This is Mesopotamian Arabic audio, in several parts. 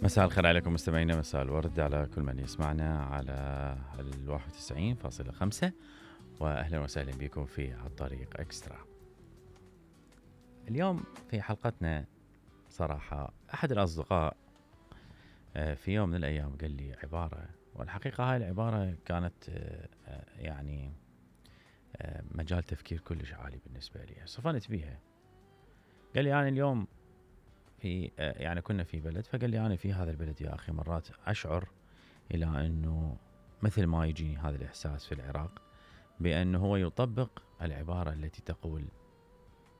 مساء الخير عليكم مستمعينا، مساء الورد على كل من يسمعنا على 91.5 وأهلا وسهلا بكم في الطريق إكسترا. اليوم في حلقتنا صراحة أحد الأصدقاء في يوم من الأيام قال لي عبارة، والحقيقة هاي العبارة كانت يعني مجال تفكير كلش عالي بالنسبة لي، صفنت بيها. قال لي أنا اليوم في يعني كنا في بلد، فقال لي أنا في هذا البلد يا أخي مرات أشعر إلى أنه مثل ما يجيني هذا الإحساس في العراق بأنه هو يطبق العبارة التي تقول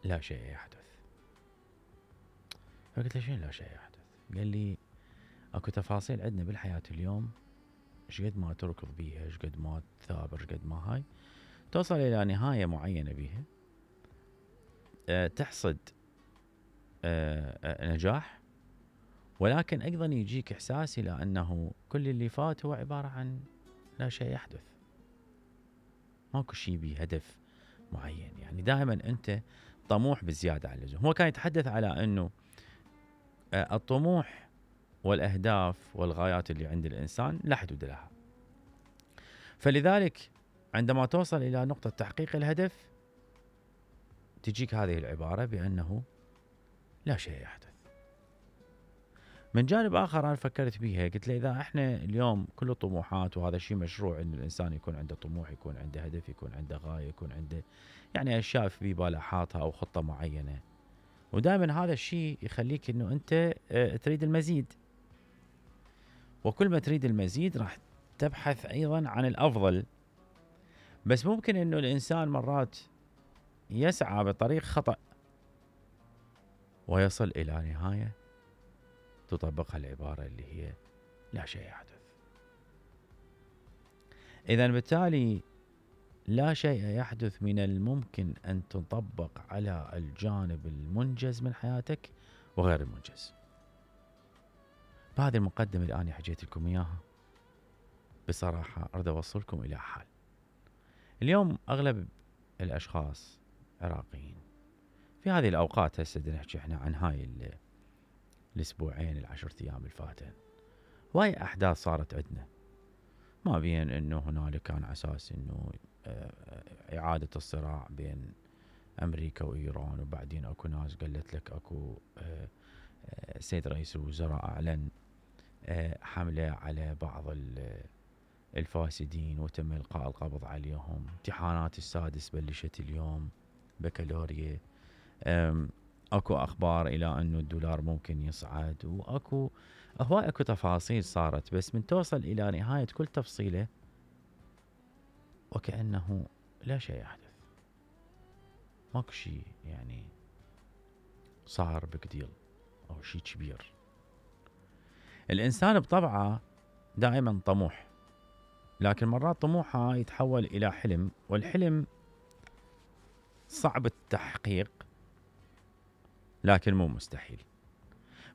لا شيء يحدث. فقلت له شنو لا شيء يحدث؟ قال لي أكو تفاصيل عندنا بالحياة اليوم شقد ما تركض بيها، شقد ما تثابر، شقد ما هاي توصل إلى نهاية معينة بيها، تحصد نجاح، ولكن أيضا يجيك إحساس إلى أنه كل اللي فات هو عبارة عن لا شيء يحدث، ماكو شيء بهدف معين. يعني دائما أنت طموح بزيادة عن اللزوم. هو كان يتحدث على أنه الطموح والأهداف والغايات اللي عند الإنسان لا حدود لها، فلذلك عندما توصل إلى نقطة تحقيق الهدف تجيك هذه العبارة بأنه لا شيء يحدث. من جانب آخر أنا فكرت بيها، قلت له إذا إحنا اليوم كل الطموحات، وهذا الشيء مشروع إن الإنسان يكون عنده طموح، يكون عنده هدف، يكون عنده غاية، يكون عنده يعني أشياء في باله حاطها أو خطة معينة، ودائما هذا الشيء يخليك إنه أنت تريد المزيد، وكل ما تريد المزيد راح تبحث أيضا عن الأفضل. بس ممكن إنه الإنسان مرات يسعى بطريق خطأ ويصل إلى نهاية تطبقها العبارة اللي هي لا شيء يحدث. إذن بالتالي لا شيء يحدث من الممكن أن تطبق على الجانب المنجز من حياتك وغير المنجز. بهذه المقدمة اللي أنا حكيت لكم إياها بصراحة أريد أوصلكم إلى حال. اليوم أغلب الأشخاص عراقيين في هذه الأوقات، هسه نحكي إحنا عن هاي الأسبوعين 10 أيام الفاتن، وهي أحداث صارت عندنا، ما بين إنه هنالك كان أساس إنه إعادة الصراع بين أمريكا وإيران، وبعدين أكو ناس قالت لك أكو السيد رئيس الوزراء أعلن حملة على بعض الفاسدين وتم إلقاء القبض عليهم. امتحانات السادس بلشت اليوم، بكالوريا، اكو اخبار الى انه الدولار ممكن يصعد، واكو هواي اكو تفاصيل صارت، بس من توصل الى نهاية كل تفصيلة وكأنه لا شيء يحدث، ماكو شيء يعني صار بكديل او شيء كبير. الانسان بطبعه دائما طموح، لكن مرات طموحه يتحول الى حلم، والحلم صعب التحقيق لكن مو مستحيل.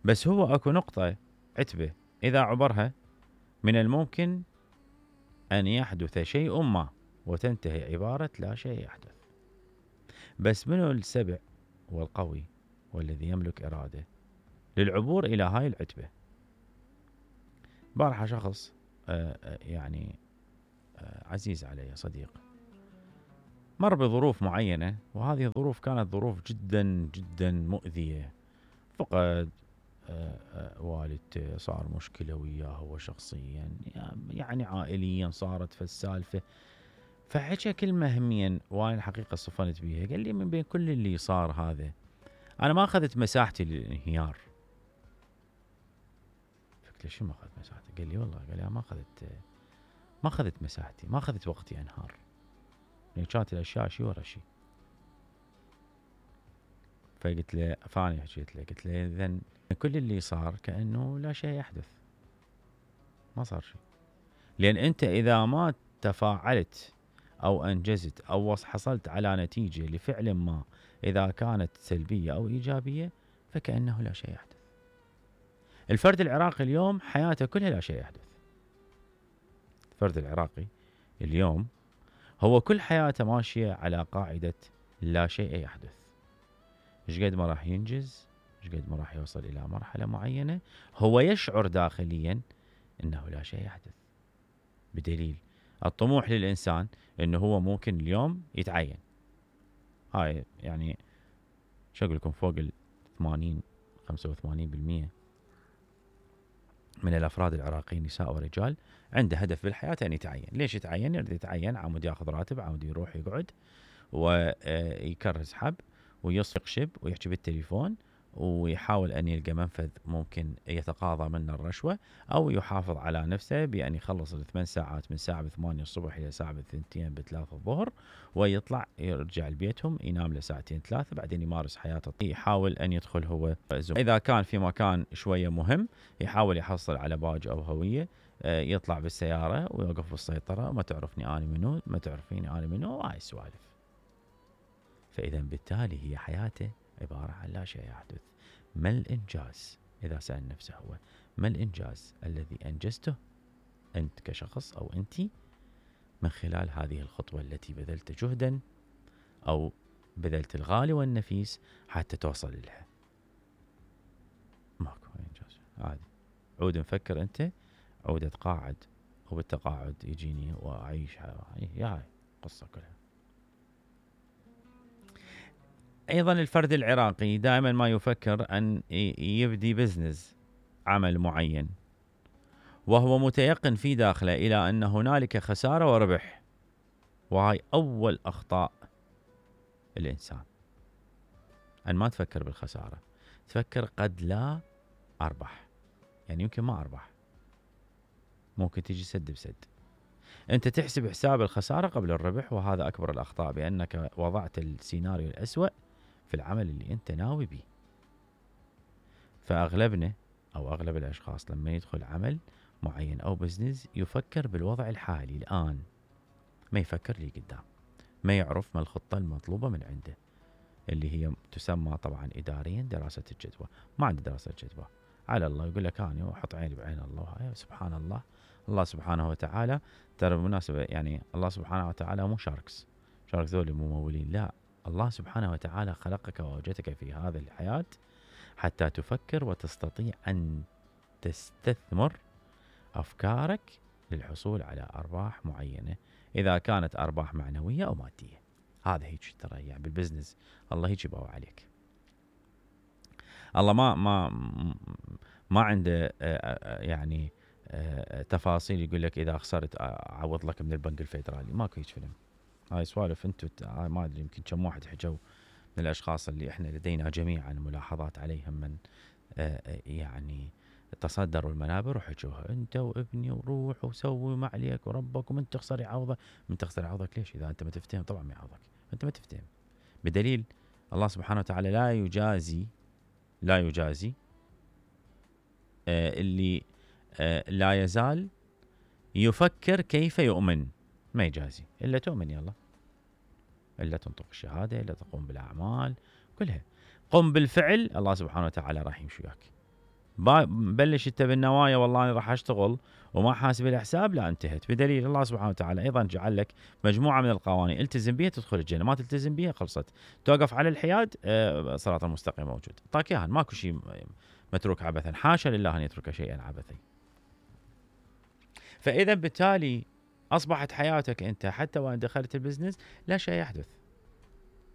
بس هو اكو نقطة عتبة اذا عبرها من الممكن ان يحدث شيء ما، وتنتهي عبارة لا شيء يحدث. بس منو السبع والقوي والذي يملك إرادة للعبور إلى هاي العتبة؟ بارحة شخص يعني عزيز علي، صديق، مر بظروف معينة، وهذه الظروف كانت ظروف جدا جدا مؤذية. فقد والدته، صار مشكلة وياه هو شخصيا، يعني عائليا صارت في السالفة. فحكى كلمة هميا وانا الحقيقة صفنت بيها، قال لي من بين كل اللي صار هذا أنا ما أخذت مساحتي للانهيار. فقلت له شو ما أخذت مساحتي؟ قال لي والله، قال لي ما أخذت مساحتي، ما أخذت وقتي أنهار، يعني كانت الأشياء شي ورا شي. فقلت له، فاني حكيت له، قلت له إذن كل اللي صار كأنه لا شيء يحدث، ما صار شيء. لأن أنت إذا ما تفاعلت أو أنجزت أو حصلت على نتيجة لفعل ما، إذا كانت سلبية أو إيجابية، فكأنه لا شيء يحدث. الفرد العراقي اليوم حياته كلها لا شيء يحدث. الفرد العراقي اليوم هو كل حياته ماشية على قاعدة لا شيء يحدث. ايش قد ما راح ينجز، شقد ما راح يوصل إلى مرحلة معينة هو يشعر داخليا أنه لا شيء يحدث. بدليل الطموح للإنسان أنه هو ممكن اليوم يتعين. هاي يعني شو أقول لكم فوق 85% من الأفراد العراقيين نساء ورجال عنده هدف بالحياة أن يتعين. ليش يتعين؟ يريد يتعين عمود ياخذ راتب، عمود يروح يقعد ويكرز حب ويصفق شب ويحكي بالتليفون ويحاول أن يلقى منفذ ممكن يتقاضى منه الرشوة، أو يحافظ على نفسه بأن يخلص 8 ساعات من ساعة 8 الصبح إلى ساعة 2 ب3 الظهر، ويطلع يرجع لبيتهم ينام له 2 3 بعدين يمارس حياته. يحاول أن يدخل هو زوم. إذا كان في مكان شوية مهم يحاول يحصل على باج أو هوية، يطلع بالسيارة ويوقف بالسيطرة، ما تعرفني أنا منو، ما تعرفيني أنا منو، وهاي السوالف. فإذا بالتالي هي حياته عبارة عن لا شيء يحدث. ما الإنجاز؟ إذا سأل نفسه هو ما الإنجاز الذي أنجزته أنت كشخص أو أنت من خلال هذه الخطوة التي بذلت جهدا أو بذلت الغالي والنفيس حتى توصل لها؟ ماكو إنجاز عادي. عود نفكر أنت، عود أتقاعد وبالتقاعد يجيني وأعيش هاي قصة كلها. أيضا الفرد العراقي دائما ما يفكر أن يبدي بزنس، عمل معين، وهو متيقن في داخله إلى أن هنالك خسارة وربح. وهاي أول أخطاء الإنسان، أن ما تفكر بالخسارة، تفكر قد لا أربح، يعني يمكن ما أربح، ممكن تجي سد بسد. أنت تحسب حساب الخسارة قبل الربح، وهذا أكبر الأخطاء، بأنك وضعت السيناريو الأسوأ في العمل اللي أنت ناوي به. فأغلبنا أو أغلب الأشخاص لما يدخل عمل معين أو بزنس يفكر بالوضع الحالي الآن، ما يفكر لي قدام، ما يعرف ما الخطة المطلوبة من عنده، اللي هي تسمى طبعا إداريا دراسة الجدوى. ما عنده دراسة جدوى، على الله يقول لك أنا أحط عيني بعين الله. سبحان الله، الله سبحانه وتعالى ترى بالمناسبة يعني الله سبحانه وتعالى مو شاركس ذولي ممولين، لا، الله سبحانه وتعالى خلقك ووجدك في هذه الحياة حتى تفكر وتستطيع أن تستثمر أفكارك للحصول على أرباح معينة، إذا كانت أرباح معنوية أو مادية. هذا هيك ترى يعني بالبزنس الله هيك يبغى عليك. الله ما عنده يعني تفاصيل يقول لك إذا خسرت أعوض لك من البنك الفيدرالي، ماكو هيك فيلم. هاي سوالف انتم ما ادري يمكن كم واحد حجوا من الاشخاص اللي احنا لدينا جميعا ملاحظات عليهم من يعني تصدروا المنابر وحجوها، انت وابني وروح وسوي ما عليك وربك، ومن تخسر يعوضك. من تخسر يعوضك ليش؟ اذا انت ما تفتهم طبعا ما يعوضك، انت ما تفتهم. بدليل الله سبحانه وتعالى لا يجازي اللي لا يزال يفكر كيف يؤمن، ما يجازي إلا تؤمن، يلا إلا تنطق الشهادة، إلا تقوم بالأعمال كلها، قم بالفعل، الله سبحانه وتعالى راح يمشي وياك. بلش انت بالنوايا والله أنا راح أشتغل وما حاسب الحساب، لا انتهت. بدليل الله سبحانه وتعالى أيضا جعل لك مجموعة من القوانين التزم بها تدخل الجنة، ما تلتزم بها خلصت، توقف على الحياد صراط المستقيم موجود، طاك إياها، ماكو شيء متروك عبثا، حاشا لله أن يترك شيئا عبثا. فإذا بالتالي أصبحت حياتك أنت حتى وإن دخلت البزنس لا شيء يحدث.